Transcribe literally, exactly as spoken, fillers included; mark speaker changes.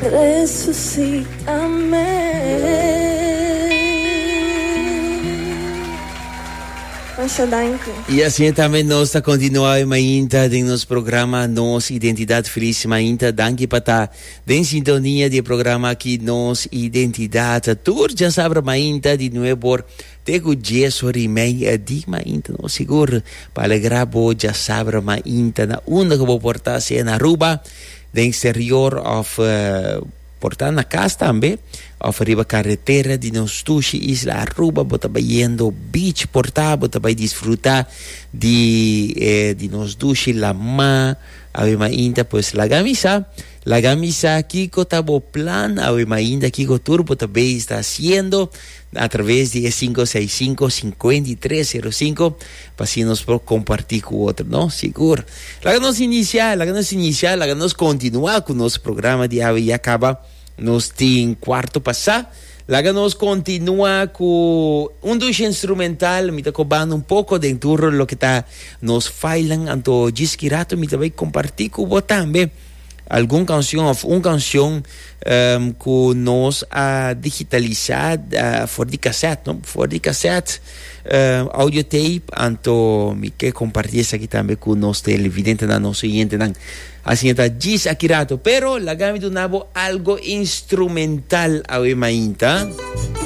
Speaker 1: Resuscítame. Masha danki.
Speaker 2: Y asina tambe nos ta continua mainta den nos programa Nos Identidad. Feliz mainta, danki pa ta den sintonia di programa aki Nos Identidad. Tur diasabra mainta di nuebe or te cu dies or y mei di mainta, no sigur pa alegra bo diasabra mainta na unda cu bo por ta, sea na Aruba, den exterior of uh, por ta na cas tambe, of riba caretera di nos dushi isla Aruba, bo ta bayendo beach por ta, bo ta bay disfruta di, eh, di nos dushi lama, awe mainta, pues laga mi sa, laga mi sa kico ta bo plan, awe mainta, kico tur bo ta bay ta haciendo, a traves di cinco seis cinco, cinco tres cero cinco, pa asina nos por comparti cu otro, no? Sigur. Laga nos inicia, laga nos inicia, laga nos continua cu nos programa di awe ya caba. Nos tin cuarto pasa. Laga nos continua cu un dushi instrumental, mi ta cobando un poco den tur loke ta nos filenan, anto djis aki rato mi ta bay comparti cu bo tambe algun cancion of un cancion um, cu nos a digitalisa uh, for di cassette, no? For di cassette, uh, audio tape, anto mi ke comparti esaki tambe cu nos televidentenan, nos oyentenan. Asina ta, djis aki rato, pero laga mi duna bo algo instrumental awe mainta.